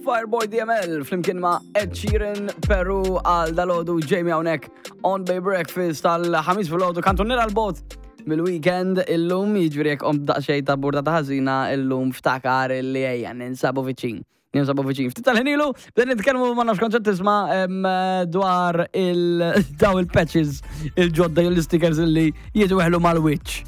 Fireboy DML flimkien ma' Ed Sheeran Peru għal dalodu Jamie hawnhekk on Bay Breakfast tal-ħamis filgħodu kantuniera l-bot mill-weekend illum jiġifieri jekk qomt daqsxejn ta' burdata ħażina illum ftakar illi ejja ninsabu viċin. Ninsabu viċin. Ftit tal-ħin ilu bdejna nitkellmu ma nafx kont qed tisma' dwar il daw il-patches il-ġodda jew l-stickers illi jitweħlu mal-wiċċ.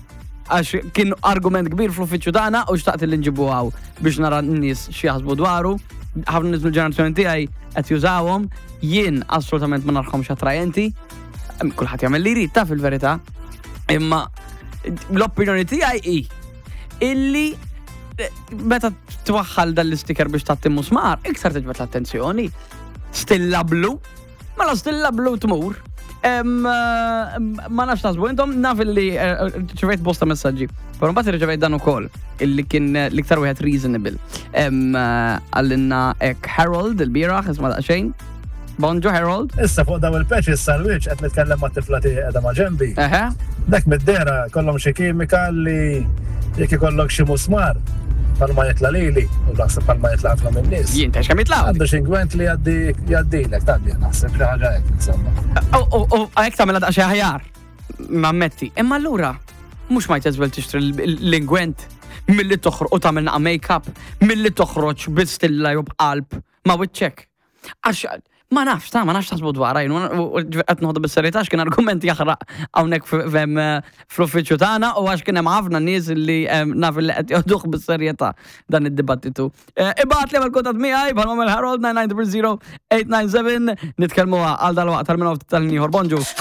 Għax kien argument kbir fl-uffiċċju tagħna u xtaqt li nġibu hawn biex nara n-nies x'jaħsbu dwaru. Ħafna nies mill-ġenerazzjoni tiegħi qed jużawhom, jien assolutament ma narhomx attrajenti. Kulħadd jagħmel li jrid ta' fil-verità. Imma l-opinjoni tiegħi hi illi eh, meta twaħħal dan l-istiker biex tagħti musmar, iktar tiġbed l-attenzjoni. Stilla blu, mela stilla blu tmur. Eh, ma nafx taħsbu intom naf illi eh, ċivejt bosta messaġġi. Però mbagħad irċevejt dan ukoll illi kien l-iktar wieħed reasonable. Għallinna hekk Harold il-bieraħ isma' daqsxejn. Bonġu Harold. Issa fuq daw il-patches sal-wiċċ qed nitkellem ma' tifla tiegħi qiegħda ma' ġenbi. Dak mid-dehra kollhom xi kimika li jekk ikollok xi musmar bħalma jitla' lili u naħseb bħalma jitla' ħafna min-nies. Jien ta' kemm jitla' Għandu xi ingwent li jgħaddi jgħaddilek tgħaddi naħseb xi ħaġa hekk insomma. U hekk tagħmilha daqsxejn aħjar. Nammetti. Imma allura mhux might as well tixtri l-ingwent milli toħroġ u tagħmel naqa' make-up milli toħroġ bi stilla jew b'qalb ma' wiċċek. Għax ma nafx, ta' ma nafx taħsbu dwarha, jien qed noħdu bis-serjetà għax kien argument jaħraq hawnhekk fl-uffiċċju tagħna u għax kien hemm ħafna nies li naf li qed joħduh bis-serjetà dan id-dibattitu. Eh, ibgħat li għamel kuntatt miegħi bħal Harold 990 897 nitkellmu għal dal-waqt tal-minn tal-ieħor. Bonġu.